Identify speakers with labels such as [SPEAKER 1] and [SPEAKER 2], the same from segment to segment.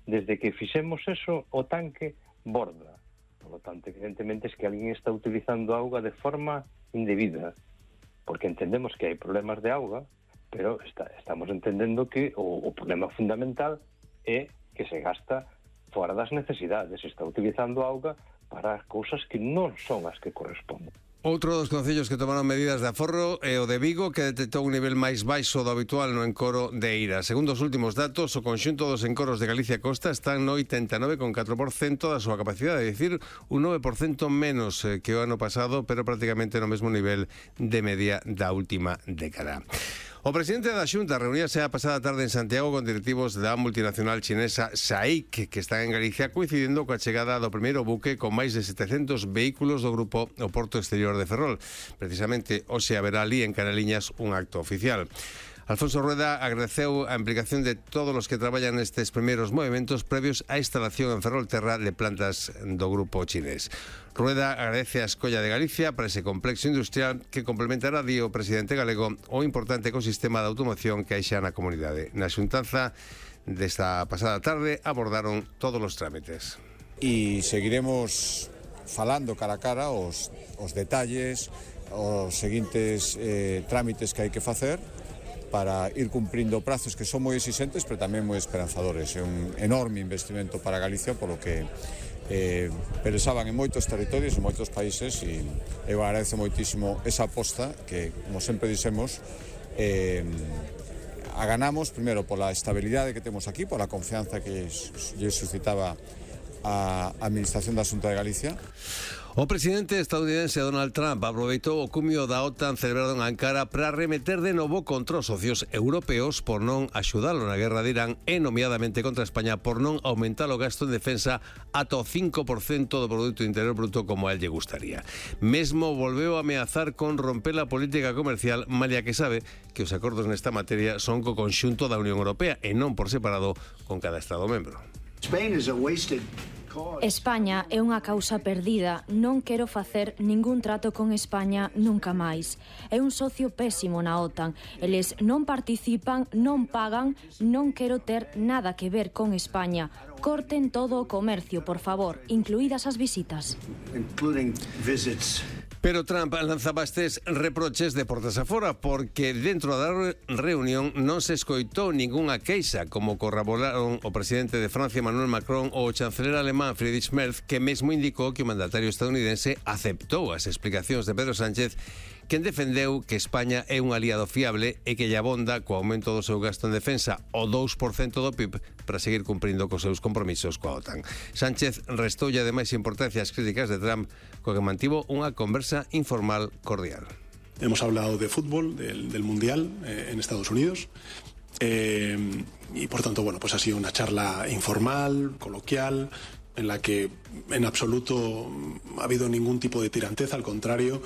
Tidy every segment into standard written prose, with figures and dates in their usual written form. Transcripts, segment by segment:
[SPEAKER 1] desde que fixemos eso, o tanque borda. Por lo tanto, evidentemente, es que alguén está utilizando auga de forma indebida, porque entendemos que hai problemas de auga, pero estamos entendendo que o problema fundamental é que se gasta fora das necesidades, se está utilizando auga para cousas que non son as que corresponden.
[SPEAKER 2] Outro dos concellos que tomaron medidas de aforro é o de Vigo, que detectou un nivel máis baixo do habitual no encoro de Eira. Segundo os últimos datos, o conxunto dos encoros de Galicia Costa están no 89,4% da súa capacidade, é dicir, un 9% menos que o ano pasado, pero prácticamente no mesmo nivel de media da última década. O presidente da Xunta reuníase a pasada tarde en Santiago con directivos da multinacional chinesa SAIC, que están en Galicia, coincidindo coa chegada do primeiro buque con máis de 700 vehículos do grupo ao Porto Exterior de Ferrol. Precisamente, hoxe haberá ali en Canaliñas un acto oficial. Alfonso Rueda agradeceu a implicación de todos os que traballan nestes primeiros movimentos previos á instalación en Ferrolterra de plantas do grupo chinés. Rueda agradece a Escolla de Galicia para ese complexo industrial que complementará, di o presidente galego, o importante ecosistema de automoción que hai xa na comunidade. Na xuntanza desta pasada tarde abordaron todos os trámites.
[SPEAKER 3] E seguiremos falando cara a cara os detalles, os seguintes trámites que hai que facer para ir cumprindo prazos que son moi exixentes, pero tamén moi esperanzadores. É un enorme investimento para Galicia, polo que pensaban en moitos territorios, en moitos países, e eu agradezo moitísimo esa aposta que, como sempre dixemos, ganamos primeiro pola estabilidade que temos aquí, pola confianza que lle suscitaba a Administración da Xunta de Galicia.
[SPEAKER 2] O presidente estadounidense Donald Trump aproveitou o cumio da OTAN celebrado en Ankara para remeter de novo contra os socios europeos por non axudalo na guerra de Irán e nomeadamente contra España por non aumentar o gasto en defensa ata o 5% do Produto Interior Bruto como a él lle gustaría. Mesmo volveu a ameazar con romper a política comercial, malia que sabe que os acordos nesta materia son co conxunto da Unión Europea e non por separado con cada Estado membro.
[SPEAKER 4] España é unha causa perdida. Non quero facer ningún trato con España nunca máis. É un socio pésimo na OTAN. Eles non participan, non pagan, non quero ter nada que ver con España. Corten todo o comercio, por favor, incluídas as visitas.
[SPEAKER 2] Pero Trump lanzaba estes reproches de portas afora porque dentro da reunión non se escoitou ningunha queixa, como corroboraron o presidente de Francia Emmanuel Macron ou o chanceler alemán Friedrich Merz, que mesmo indicou que o mandatario estadounidense aceptou as explicacións de Pedro Sánchez, quen defendeu que España é un aliado fiable e que lle abonda co aumento do seu gasto en defensa o 2% do PIB para seguir cumprindo cos seus compromisos coa OTAN. Sánchez restoulle ademais importancia ás críticas de Trump, co que mantivo unha conversa informal cordial.
[SPEAKER 5] Hemos hablado de fútbol, del Mundial en Estados Unidos y por tanto, bueno, pues ha sido una charla informal, coloquial, en la que en absoluto ha habido ningún tipo de tiranteza, al contrario,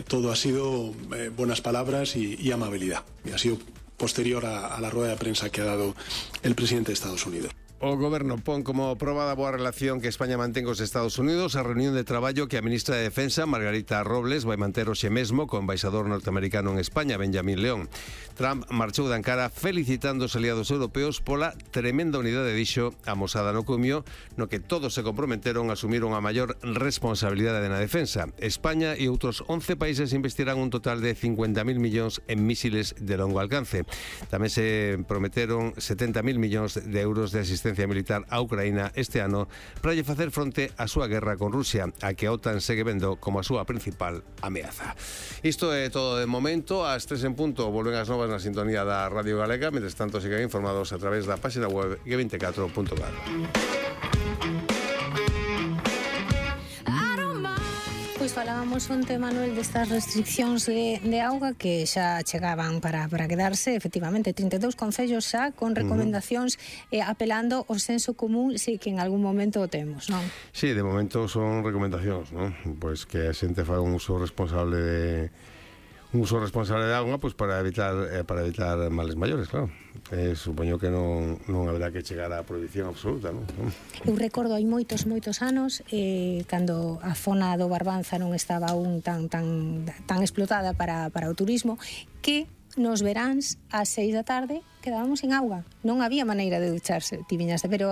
[SPEAKER 5] todo ha sido buenas palabras y amabilidad. Y ha sido posterior a la rueda de prensa que ha dado el presidente de Estados Unidos.
[SPEAKER 2] O Goberno pon como proba da boa relación que España mantén cos Estados Unidos a reunión de traballo que a ministra de Defensa, Margarita Robles, vai manter hoxe mesmo co embaixador norteamericano en España, Benjamín León. Trump marchou de Ankara felicitando os aliados europeos pola tremenda unidade, dixo, amosada no cumio, no que todos se comprometeron a asumir unha maior responsabilidade na defensa. España e outros 11 países investirán un total de 50.000 millóns en mísiles de longo alcance. Tamén se prometeron 70.000 millóns de euros de asistencia militar a Ucraína este ano para lle facer fronte á súa guerra con Rusia, a que a OTAN segue vendo como a súa principal ameaza. Isto é todo de momento. Ás 3 en punto volven as novas na sintonía da Radio Galega. Mentres tanto, sigan informados a través da página web g24.gal.
[SPEAKER 6] Pois falábamos onte, Manuel, destas restriccións de auga que xa chegaban para quedarse. Efectivamente, 32 concellos xa con recomendacións apelando ao senso común, si que en algún momento o temos, non?
[SPEAKER 2] Sí, de momento son recomendacións, non? Pois que a xente faga un uso responsable de auga, pois para evitar males maiores, claro. Supoño que non haberá que chegar á prohibición absoluta, non?
[SPEAKER 6] Eu recordo hai moitos anos cando a zona do Barbanza non estaba aún tan explotada para o turismo, que nos veráns ás 6 da tarde quedábamos sin auga, non había maneira de ducharse, ti viñaste, pero